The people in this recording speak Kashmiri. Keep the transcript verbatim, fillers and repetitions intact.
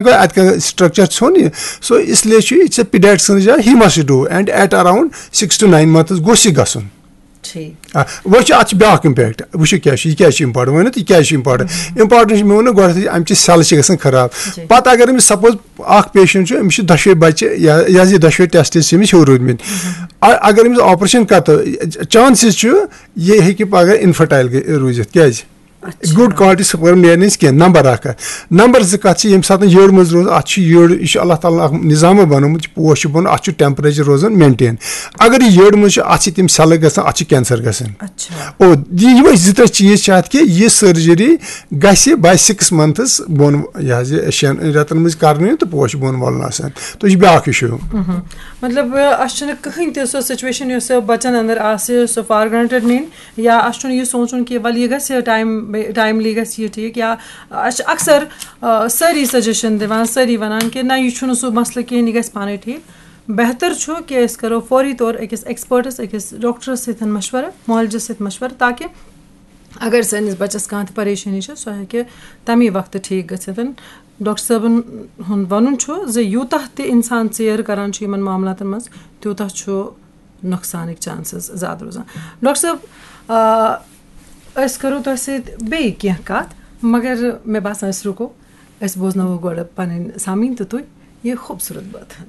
گوٚو اَتہِ کانٛہہ structure ژھیوٚن یہِ۔ So اس لیے چھُ یہِ ژےٚ pediatrician جاے he must do and at around six to nine months گوٚژھ یہِ گژھُن۔ ٹھیٖک۔ آ، وۄنۍ چھُ اَتھ چھُ بیٛاکھ impact، وٕچھِو کیٛاہ چھُ، یہِ کیٛازِ چھُ important، ؤنِو تُہۍ کیٛازِ چھُ important؟ Important چھُ، مےٚ ووٚن نہ گۄڈٕنٮ۪تھٕے، اَمہِ چہِ cell چھِ گژھان خراب۔ جی۔ پَتہٕ اگر أمِس suppose اَکھ patient چھُ، أمِس چھِ دۄشوے بَچہِ یا یہِ حظ یہِ دۄشوے test چھِ أمِس ہیوٚر روٗدمٕتۍ۔ اَ-، اگر أمِس operation کَرو، chances چھُ یہِ ہیٚکہِ پَگاہ infertile گٔ-، روٗزِتھ۔ کیٛازِ؟ اچھا۔ Good quality sperm نیرِ نہٕ أمِس کینٛہہ، number اَکھ۔ Number زٕ کَتھ چھِ، ییٚمہِ ساتہٕ یٔڈ منٛز روز، اَتھ چھُ یٔڈ، یہِ چھُ اللہ تعالیٰ ہن اَکھ نظامہ بنومُت، یہِ پوش چھُ بنومُت، اَتھ چھُ temperature روزان maintain۔ اگر یہِ یٔڈ منٛز چھُ، اَتھ چھِ تِم cellہٕ گژھان، اَتھ چھُ cancer گژھان۔ اچھا۔ او، یہِ، یِمے زٕ ترٛےٚ چیٖز چھِ اَتھ کہِ یہِ surgery گژھِ by six months بۄن، یہِ حظ یہِ شٮ۪ن رٮ۪تن منٛز کرنہٕ یُن تہٕ پوش بۄن وَلُن آسان۔ تہٕ یہِ چھُ بیٛاکھ issue۔ مہم۔ مطلب، اَسہِ چھُنہٕ کٕہٕنۍ تہِ سۄ situation یۄس بَچَن اندر آسہِ، سۄ for granted نِنۍ، یا اَسہِ چھُنہٕ یہِ سونٛچُن کہِ وَلہٕ یہِ گژھِ time، timely گژھِ یہِ ٹھیٖک، یا اَسہِ چھِ اکثر، آ، سٲری suggestion دِوان، سٲری وَنان کہِ نہ، یہِ چھُنہٕ سُہ مسلہٕ کِہیٖنۍ، یہِ گژھِ پانَے ٹھیٖک۔ بہتر چھُ کہِ أسۍ کَرو فوری طور أکِس expertس، أکِس doctorس سۭتۍ مشورٕ، معالجَس سۭتۍ مشورٕ، تاکہِ اگر سٲنِس بَچَس کانٛہہ تہِ پریشٲنی چھِ، سۄ ہیٚکہِ تَمی وقتہٕ ٹھیٖک گٔژھِتھ۔ ڈاکٹر صٲبَن ہُنٛد وَنُن چھُ زِ یوٗتاہ تہِ اِنسان ژیر کَران چھُ یِمَن معاملاتَن منٛز، تیوٗتاہ چھُ نۄقصانٕکۍ chances زیادٕ روزان۔ ڈاکٹر صٲب، آ، أسۍ کَرو تۄہہِ سۭتۍ بیٚیہِ کینٛہہ کَتھ، مگر مےٚ باسان أسۍ رُکو، أسۍ بوزناوو گۄڈٕ پَنٕنۍ سامعیٖن تہٕ تُہۍ یہِ خوٗبصوٗرت بٲتھ۔